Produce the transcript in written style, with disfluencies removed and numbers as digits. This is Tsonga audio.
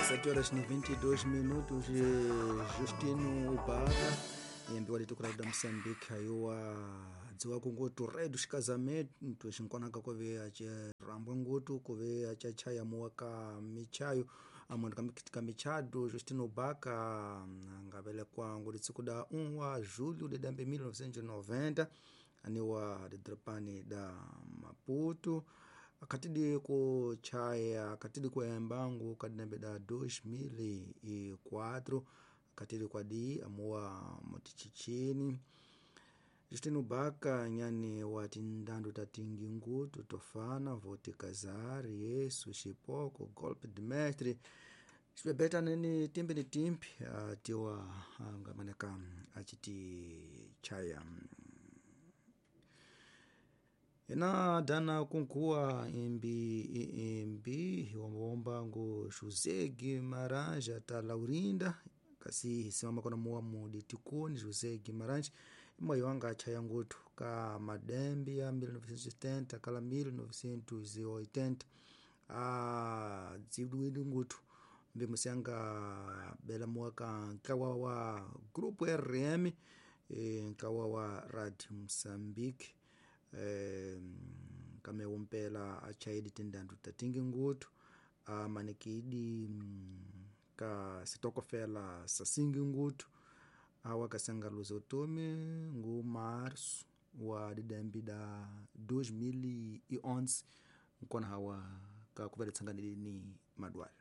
7 horas e 22 minutos. Justino Ubaka yembiwa litukula da Moçambique ayowa dziwa kungutu rei dos casamentos xinkonaka kuve acirambwa ngutu kuve acachaya muwa ka michayo amwendo ka michado. Justino Ubaka ngavelekwa nguri tsiku da 1 wa julho de dambe 1990 aniwa didrapani da Maputo akatidi kuchaya akatidi kuembangu kadinambe da 2004 akatidi kwadi amuwa mutichichini. Justino Baka nyani wa tindandu tatingi ngutu tofana voti kazari Yesu xipoko golpe de mestre xibebeta nini timbi ni timbi atiwa ngamaneka achiti chaya ena dana kunkuwa imbi imbi womba ngu José Guimarães ata Laurinda kasi hisimama kona muwa mudi tikuni José Guimarães imwe wanga achaya ngutu ka madembi ya 1970 kala 1980 a dzidwidi ngutu mbi musianga bela muwa ka nkawa wa grupo RM nkawa wa Radio Mozambique kame umpela achaidi tindandu tatingi ngutu amanikidi ka sitokofela sasingi ngutu awa kasanga luza utomi ngu março wa didembi da 2011 nkona hawa ka kuveletsanganili ni madwale.